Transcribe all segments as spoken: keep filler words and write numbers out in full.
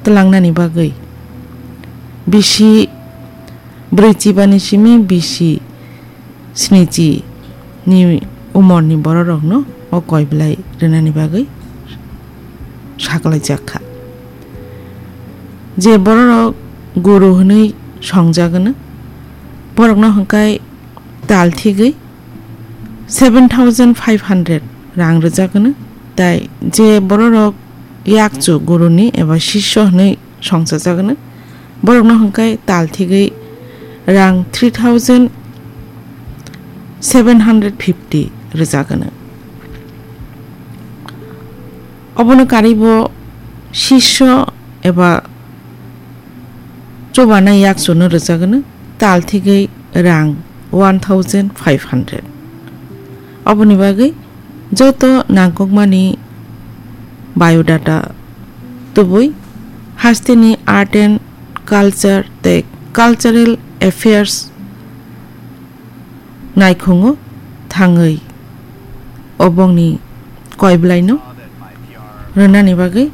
twlangnani bagwi bisi brwichi bani simi bisi snichi ni umorni bororokno o koiblai rwnani bagwi saklaijak kha. Je bororok guru hwnwi songjagwno, borokno hwnkhai tal thigwi seven thousand five hundred rang rwjagwno, tai je bororok yakchu guruni eba sisyo hwnwi songchajagwno, borokno hwnkhai tal thigwi rang three thousand seven hundred fifty rwjagwno. Obono karwibo sisyo eba chubanai yakchuno rwjagwno, tal thigwi rang one thousand five hundred. Oboni bagwi joto nangkukmani biodata tubui hasteni Art and Culture tei Cultural Affairs naikhungo thangwi obongni koiblaino rwnani bagwi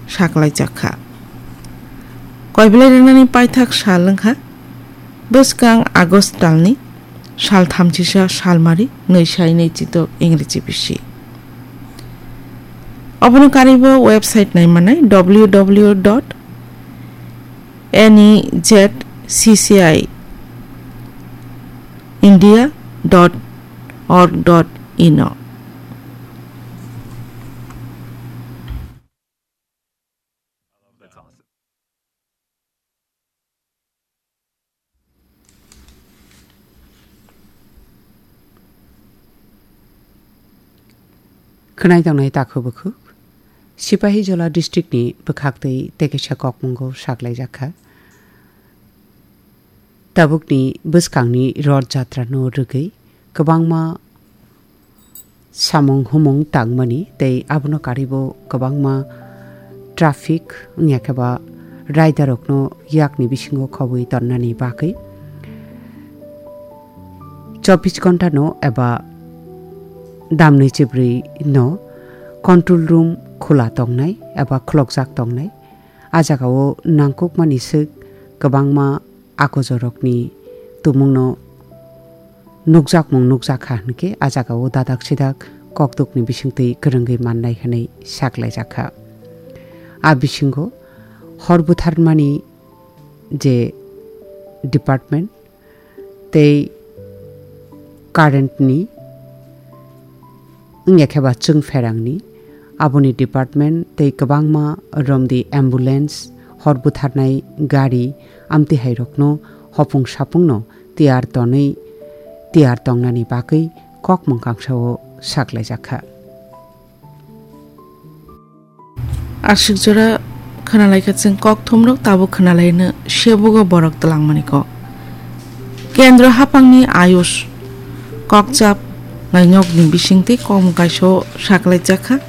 saklaijak kha. Koiblai rwnani paithak sal wngkha bwskang August talni sal thamchisa salmari nwi sai nwi chitok Ingreji bisi. Obono karwibo website naimanai W W W dot N E Z C C I India dot org dot in o. Khwnai tongnai takhuk bukhuk, Sipahijola district ni bwkhak twi tei kaisa kokmungo saklaijak kha. Tabukni bwskangni Roth Jatra no rwgwi kwbangma samung humung tangmani tei abono karwibo kwbangma traffic wngya khe ba rider rokno yakni bisingo khobwi tonnani bagwi chobbish ghonta no eba damni chibrwi no control room khula tongnai eba khulokjak tongnai. A jagao nangkukmani swk kwbangma akochorokni tumungno nukjakmung nukjak kha hwnkhe, a jagao dadak sidak kokdukni bisingtwi kwrwngwi mannai hwnwi saklaijak kha. A bisingo hor butharmani je department, tei current ni wngya khe ba chwng pherang ni aboni department tei kwbangma romdi ambulance, hor butharnai gari, amtwi hai rokno hopung sapung no tiyar tonwi tiyar tongnani bagwi kok mwngkang sao saklaijak kha. Aswk jora khwnalaikha chwng kokthumrok, tabuk khwnalaino sebugo borok twlangmani kok. Kendro haphangni Ayush kokchap nainokni bisingtwi kokmung kaisa saklaijak kha.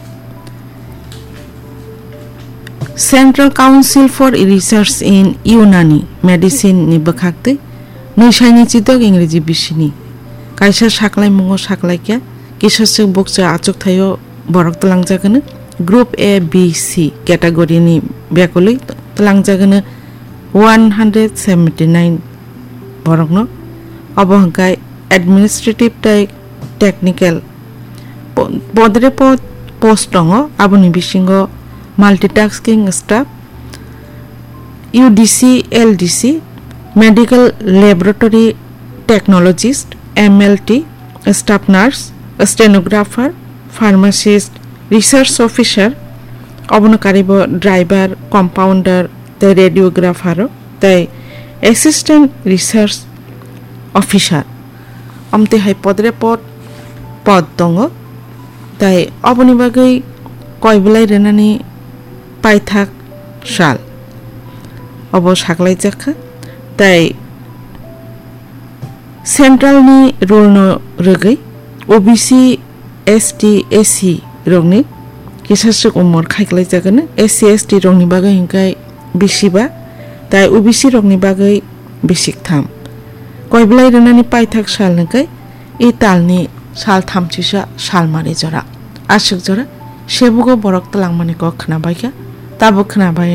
Central Council for Research in Unani Medicine ni bwkhaktwi nwisaini chitok Ingreji bisini kaisa saklaimungo saklaikha, kisaswk bukcha achukthaio borok twlangjak hwno. Group A, B, C category ni bekulwi twlangjak hwno one hundred seventy nine borokno. Obo hwnkhe administrative tei technical po-, podre pod post tongo, aboni bisingo multitasking staff, U D C, L D C, medical laboratory technologist, M L T, staff nurse, stenographer, pharmacist, research officer, obono karibo driver, compounder, tei radiographer rok, tei assistant research officer. Amtwi hai podre pod, pod tongo, tei oboni bagwi koi belai rwnani paithak sal obo saklaijak kha, tei central ni rule no rwgwi O B C, S T, S C rokni kisaswk umor khaiklaijak hwno. S C, S T rokni bagwi hwnkhe bisi ba, tei O B C rokni bagwi bisi ktham. Koi belai rwnani paithak sal hwnkhe e talni sal thamchisa salmari jora. Aswk jora sebugo borok twlangmani kok khwnabaikha, tabuk khwnabai.